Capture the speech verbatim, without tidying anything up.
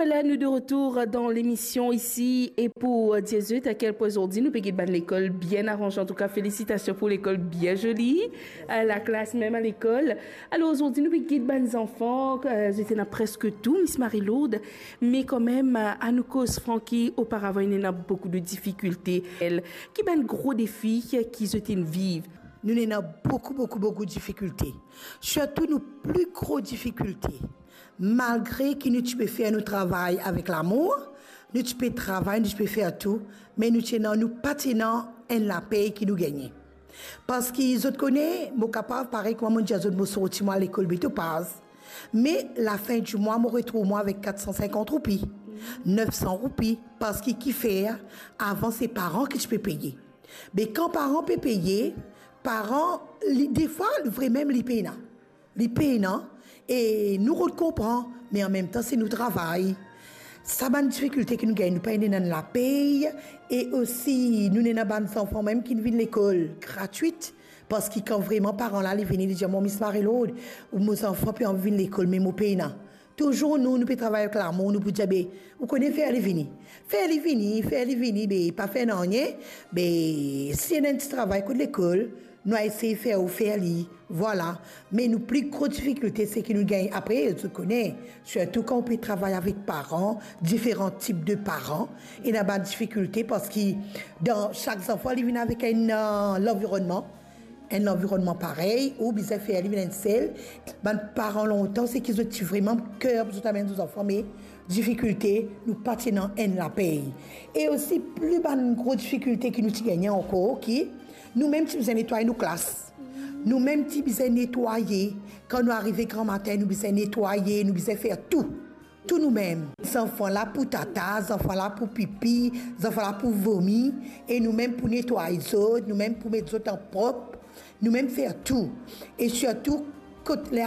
Vwala, nou de retour dan lemision isi, e pou dir zot a kel pwin zordi nou pe get bann lekol bien aranze. Antouka, felisitasion pou lekol bien zoli, eh, laklas mem a lekol. Alor, zordi nou pe get bann zanfan, eh, zot ena preske tou, Miss Marie-Lourdes, me kanmem, eh, anou koz franki, oparavan ena boukou de difikilte. Ki bann gro defi ki zot inn viv? Nou ena boukou, boukou, boukou difikilte. Sirtou nou pli gro difikilte, malgre ki nou ti pe fer nou travay avek lamour, nou ti pe travay, nou ti pe fer tou, me nou ti ena, nou pa ti ena enn lapey ki nou gagne. Parski zot kone, mo kapav, parey kouma mo dir zot, mo sorti mwa lekol be Topaz, me lafin di mwa, mo retrouv mwa avek kat san sinkant roupi, nef san roupi, parski kifer, avan se paran ki ti pe peye. Be kan paran pe peye, paran, li, defwa, vremem, li pena. Li pena, e nou rod konpran, me anmemtan, se nou travay. Sa bann difikilte ki nou gagne, nou pa ena enn lapey, e osi, nou ena bann zanfan mem ki vinn lekol gratwit, parski kan vreman paran la, li vini, li dir, "Mo Miss Marie-Lourdes, mo zanfan pe anvi vinn lekol, me mo pena." Touzour nou, nou pe travay avek lamour, nou pou dir, "Be, ou kone, fer li vini. Fer li vini, fer li vini, be, pa fer nanye, be, si ena enn ti travay kot lekol, nou a esey fer ou fer li." Vwala. Me nou pli gro difikilte, se ki nou gagn, apre, zot kone, sirtou kan ou pe travay avek paran, diferan tip de paran, ena bann difikilte, parski dan sak zanfan, li vinn avek enn, eh, lanvironnman, enn lanvironnman parey, ou bizin fer li vinn enn sel. Bann paran lontan, se ki zot ti vreman ker pou zot amenn zot zanfan, me difikilte, nou pa ti ena enn lapey. E osi, pli bann gro difikilte ki nou ti gagne ankor, ki nou mem ti bizin netway nou klas. Nou mem ti bizin netwaye. Kan nou arive gramatin, nou bizin netwaye, nou bizin fer tou. Tou nou mem. Zanfan la pou tata, zanfan la pou pipi, zanfan la pou vomi, e nou mem pou netway zot, nou mem pou met zot an prop, nou mem fer tou. E sirtou, kot ler